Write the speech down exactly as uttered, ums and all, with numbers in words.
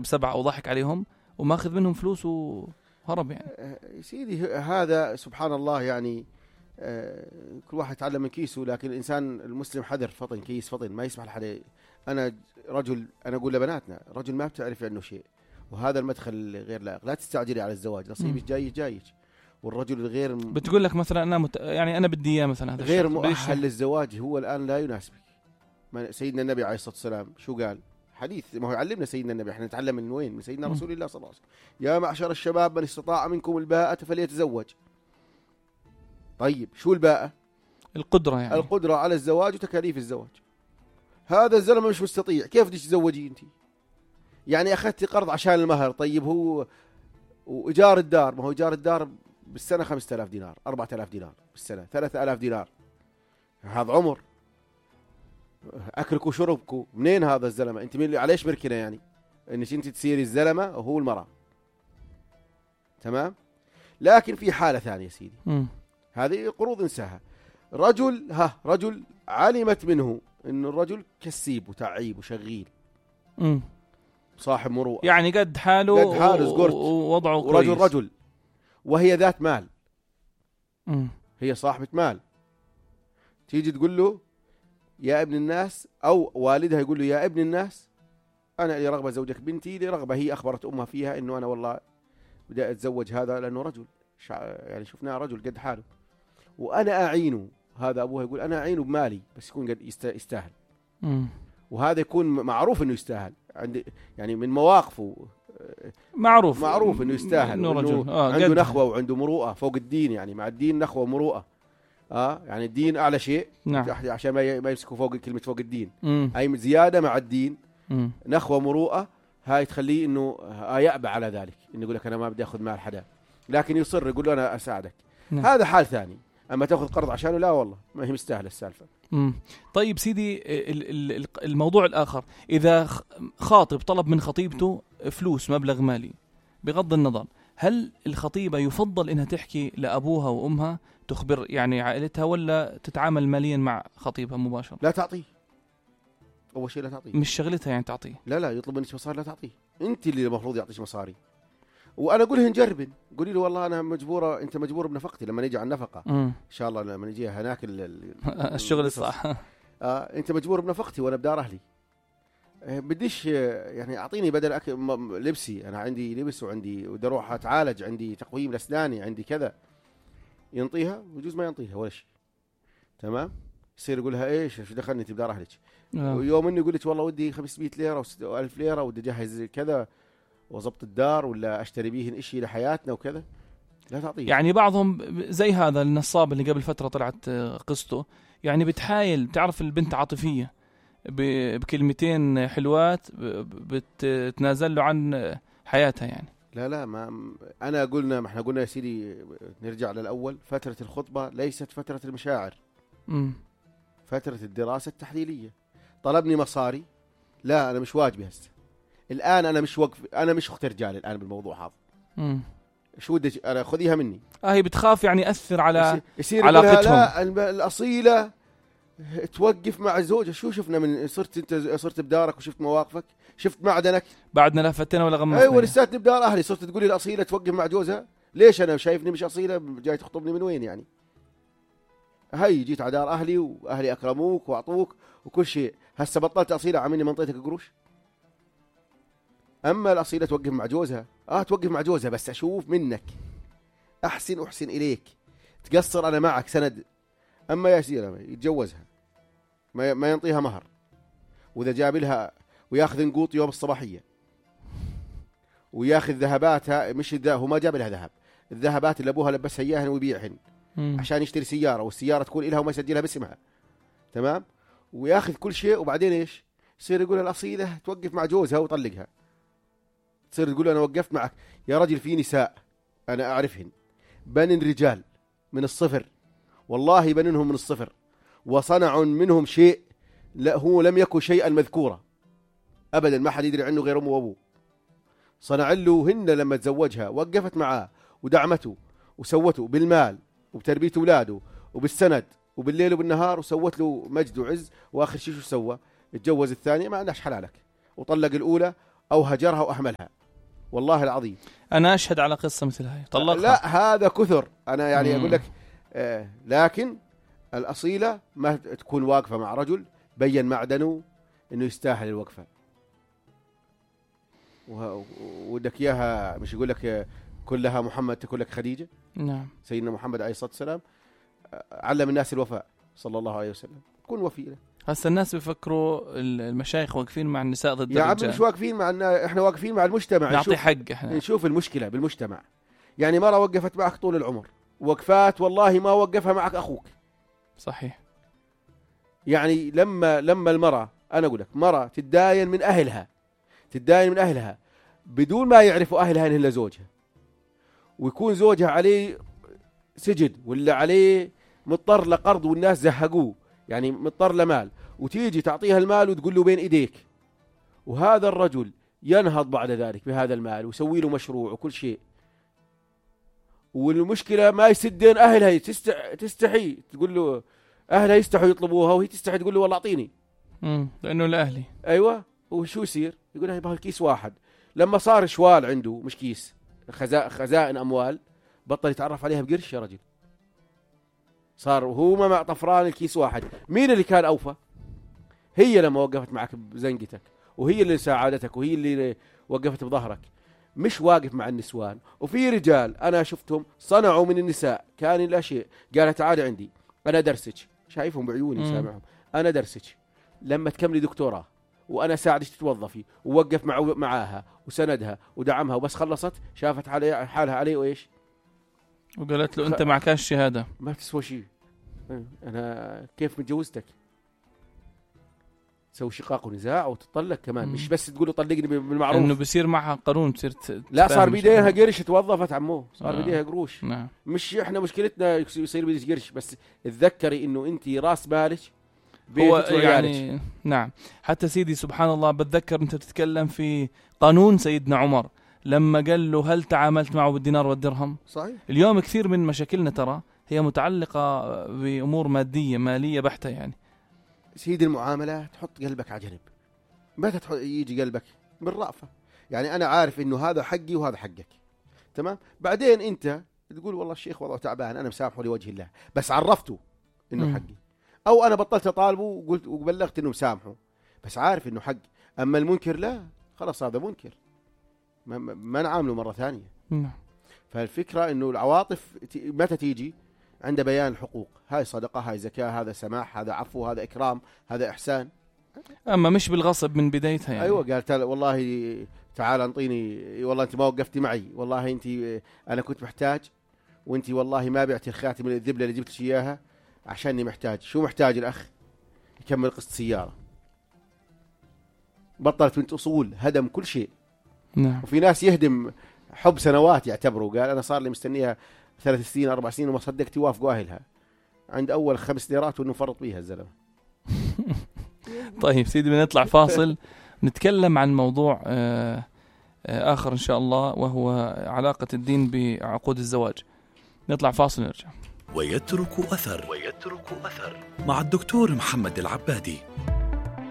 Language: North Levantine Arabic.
بسبعة أو ضحك عليهم وماخذ منهم فلوس وهرب يعني. سيدي هذا سبحان الله يعني كل واحد يتعلم من كيسه، لكن الإنسان المسلم حذر فطن كيس فطن، ما يسمح لحد. أنا رجل، أنا أقول لبناتنا رجل ما بتعرف عنه شيء، وهذا المدخل غير لائق. لا تستعجلي على الزواج، نصيبك جاي جايك. والرجل الغير م... بتقول لك مثلا أنا مت... يعني أنا بدي إياه مثلا هذا غير مؤهل للزواج هو الآن لا يناسبك. سيدنا النبي عليه الصلاة والسلام شو قال؟ حديث ما هو يعلمنا سيدنا النبي، احنا نتعلم من وين؟ من سيدنا رسول الله صلى الله عليه وسلم. يا معشر الشباب من استطاع منكم الباءة فليتزوج. طيب شو الباءة؟ القدرة يعني القدرة على الزواج وتكاليف الزواج. هذا الزلمة مش مستطيع، كيف بدك تزوجي انت؟ يعني اخذتي قرض عشان المهر، طيب هو وايجار الدار، ما هو ايجار الدار بالسنة خمسة آلاف دينار، أربعة آلاف دينار بالسنة، ثلاثة آلاف دينار. هذا عمر اكلك وشربك منين هذا الزلمه؟ انت مين عليش مركنه يعني انك انت تصيري الزلمه وهو المراه؟ تمام. لكن في حاله ثانيه سيدي، م. هذه قروض انساها. رجل ها رجل علمت منه انه الرجل كسيب وتعيب وشغيل، م. صاحب مروءه، يعني قد حاله قد حاله زقرت ووضعه كويس، ورجل رجل، وهي ذات مال، م. هي صاحبه مال. تيجي تقول له يا ابن الناس، أو والدها يقول له يا ابن الناس أنا لي رغبة زوجك بنتي، لي رغبة هي أخبرت أمها فيها إنه أنا والله بدي أتزوج هذا لأنه رجل، يعني شفناه رجل قد حاله وأنا أعينه. هذا أبوها يقول أنا أعينه بمالي بس يكون قد يستاهل. م. وهذا يكون معروف إنه يستاهل، عند يعني من مواقفه معروف معروف إنه يستاهل، إنه رجل آه عنده نخوة وعنده مروءة فوق الدين، يعني مع الدين نخوة ومروءة. اه يعني الدين اعلى شيء، نعم. عشان ما يمسكوا فوق كلمه فوق الدين. مم. اي زياده مع الدين، مم. نخوه مروءه، هاي تخليه انه آه يأبى على ذلك، انه يقول لك انا ما بدي اخذ مال حدا، لكن يصر يقول له انا اساعدك. نعم. هذا حال ثاني. اما تاخذ قرض عشانه لا والله ما هي مستاهله السالفه. مم. طيب سيدي الموضوع الاخر، اذا خاطب طلب من خطيبته فلوس مبلغ مالي، بغض النظر هل الخطيبة يفضل إنها تحكي لأبوها وأمها تخبر يعني عائلتها، ولا تتعامل ماليا مع خطيبها مباشرة؟ لا تعطيه، أول شيء لا تعطيه، مش شغلتها يعني تعطيه. لا لا يطلب منك مصاري لا تعطيه، أنت اللي المفروض يعطيش مصاري. وأنا أقولها نجرب، قولي له والله أنا مجبورة، أنت مجبور بنفقتي لما نيجي على النفقة م. إن شاء الله لما نيجي هناك الشغل الصح. آه أنت مجبور بنفقتي وأنا بدار أهلي، بديش يعني أعطيني بدل أكل لبسي، أنا عندي لبس وعندي ودي أروح أتعالج، عندي تقويم لأسناني، عندي كذا. ينطيها ويجوز ما ينطيها ولا شيء. تمام. يصير يقولها إيش شو دخلني أنت بدار أهلك. آه. ويوم إني يقول لك والله ودي خمسمية ليرة وألف ليرة ودي أجهز كذا وضبط الدار ولا أشتري بيهن إشي لحياتنا وكذا، لا تعطيه. يعني بعضهم زي هذا النصاب اللي قبل فترة طلعت قصته، يعني بتحايل، تعرف البنت عاطفية بكلمتين حلوات بتنازل له عن حياتها يعني. لا لا ما أنا قلنا، ما احنا قلنا يا سيدي نرجع للأول، فترة الخطبة ليست فترة المشاعر، م. فترة الدراسة التحليلية. طلبني مصاري، لا أنا مش واجبي هسه الآن، أنا مش وقف، أنا مش أخت رجال الآن بالموضوع هذا. م. شو بدك أنا خذيها مني؟ آه هي بتخاف يعني يأثر على يصير علاقتهم. لا الأصيلة توقف مع زوجها. شو شفنا من صرت انت صرت بدارك وشفت مواقفك، شفت معدنك، بعدنا لفتنا ولا غمضنا. ايوه لساتني بدار اهلي صرت تقولي الاصيله توقف مع جوزها. ليش انا شايفني مش اصيله جاي تخطبني من وين يعني؟ هاي جيت على دار اهلي واهلي اكرموك واعطوك وكل شيء، هسه بطلت اصيله عملني منطيتك قروش. اما الاصيله توقف مع جوزها، اه توقف مع جوزها بس اشوف منك احسن احسن اليك، تقصر انا معك سند. اما يا سيدي يتجوزها ما ما ينطيها مهر، واذا جاب لها وياخذ نقوط يوم الصباحيه وياخذ ذهباتها، مش هو ما جاب لها ذهب، الذهبات اللي ابوها لبسها اياهن ويبيعهن عشان يشتري سياره، والسياره تكون لها وما يسجلها باسمها. تمام. وياخذ كل شيء، وبعدين ايش يصير؟ يقول الاصيله توقف مع جوزها ويطلقها. تصير تقول انا وقفت معك يا رجل، في نساء انا اعرفهن بنن رجال من الصفر، والله بننهم من الصفر، وصنعوا منهم شيء لا هو لم يكن شيئا مذكورا أبدا، ما حد يدري عنه غير أمه وأبوه. صنع له هن لما تزوجها، وقفت معاه ودعمته وسوته بالمال وبتربية أولاده وبالسند وبالليل وبالنهار، وسوت له مجد وعز. وآخر شيء شو سوى؟ اتجوز الثانية، ما عندهاش حلالك، وطلق الأولى أو هجرها وأهملها. والله العظيم أنا أشهد على قصة مثل هاي طلقها. لا هذا كثر. أنا يعني مم. أقول لك آه لكن الأصيلة ما تكون واقفة مع رجل بين معدنه إنه يستاهل الوقفة، ودك إياها مش يقول لك كلها محمد تقول لك خديجة. نعم. سيدنا محمد عليه الصلاة والسلام علم الناس الوفاء صلى الله عليه وسلم. كن وفي. هسه الناس بيفكروا المشايخ واقفين مع النساء ضد يا الرجال. عم مش واقفين مع، احنا واقفين مع المجتمع. نعطي حق احنا. نشوف المشكلة بالمجتمع. يعني مرة وقفت معك طول العمر، وقفات والله ما وقفها معك أخوك. صحيح. يعني لما لما المرأة، أنا أقول لك مرة تتداين من أهلها، تتداين من أهلها بدون ما يعرفوا أهلها إنه إلا زوجها، ويكون زوجها عليه سجد ولا عليه مضطر لقرض والناس زهقوه، يعني مضطر لمال، وتيجي تعطيها المال وتقول له بين إيديك، وهذا الرجل ينهض بعد ذلك بهذا المال ويسوي له مشروع وكل شيء، والمشكلة ما يسدين أهلها، تستح... تستحي تقول له، أهلها يستحوا يطلبوها وهي تستحي تقول له والله أعطيني. امم لأنه لأهلي. أيوة. وشو يصير؟ يقول هاي الكيس واحد. لما صار شوال عنده مش كيس، خزا... خزائن أموال، بطل يتعرف عليها بقرش يا رجل. صار هو ما مع طفران الكيس واحد. مين اللي كان أوفى؟ هي لما وقفت معك بزنقتك، وهي اللي ساعدتك، وهي اللي وقفت بظهرك، مش واقف مع النسوان. وفي رجال أنا شفتهم صنعوا من النساء كان لا شيء، قالت تعالي عندي أنا درسك، شايفهم بعيوني سامعهم، أنا درسك لما تكملي دكتوراه وأنا ساعدك تتوظفي، ووقف مع معاها وسندها ودعمها، وبس خلصت شافت علي حالها عليه وإيش، وقالت له أنت مع كاش الشهادة ما تسوى شيء، أنا كيف متجوزتك؟ تسوي شقاق ونزاع وتطلق كمان. مم. مش بس تقول له طلقني بالمعروف، انه بصير معها قانون تصير لا صار بيديها قرش، توظفت عمو صار آه. بيديها قروش. نعم. مش احنا مشكلتنا يصير بيديش قرش، بس تذكري انه انت راس بالك هو يعني. نعم. حتى سيدي سبحان الله بتذكر انت بتتكلم في قانون سيدنا عمر لما قال له هل تعاملت معه بالدينار والدرهم؟ صحيح. اليوم كثير من مشاكلنا ترى هي متعلقة بأمور مادية مالية بحتة. يعني سيد المعاملات تحط قلبك على جنب، متى يجي قلبك بالرأفة، يعني أنا عارف إنه هذا حقي وهذا حقك، تمام. بعدين أنت تقول والله الشيخ وضعه تعبان أنا مسامحه لوجه الله، بس عرفته إنه م. حقي، أو أنا بطلت أطالبه وقلت وبلغت إنه مسامحه بس عارف إنه حقي. أما المنكر لا، خلاص هذا منكر، ما, ما نعامله مرة ثانية. م. فالفكرة إنه العواطف متى تيجي؟ عند بيان الحقوق، هاي صدقة، هاي زكاة، هذا سماح، هذا عفو، هذا إكرام، هذا إحسان. أما مش بالغصب من بدايتها يعني. أيوة. قالت والله تعال انطيني، والله أنت ما وقفتي معي، والله أنت أنا كنت محتاج، وأنت والله ما بعتي الخاتم من الذبلة اللي جبتش إياها عشاني محتاج. شو محتاج الأخ؟ يكمل قسط سيارة. بطلت بنت أصول، هدم كل شيء. نعم. وفي ناس يهدم حب سنوات يعتبروا، قال أنا صار لي مستنيها ثلاث سنين أربع سنين وما صدقت يوافقوا أهلها عند أول خمس ليرات وإنه فرط بيها الزلمة. طيب سيدي بنطلع فاصل نتكلم عن موضوع آخر إن شاء الله، وهو علاقة الدين بعقود الزواج. نطلع فاصل نرجع. ويترك أثر ويترك أثر مع الدكتور محمد العبادي.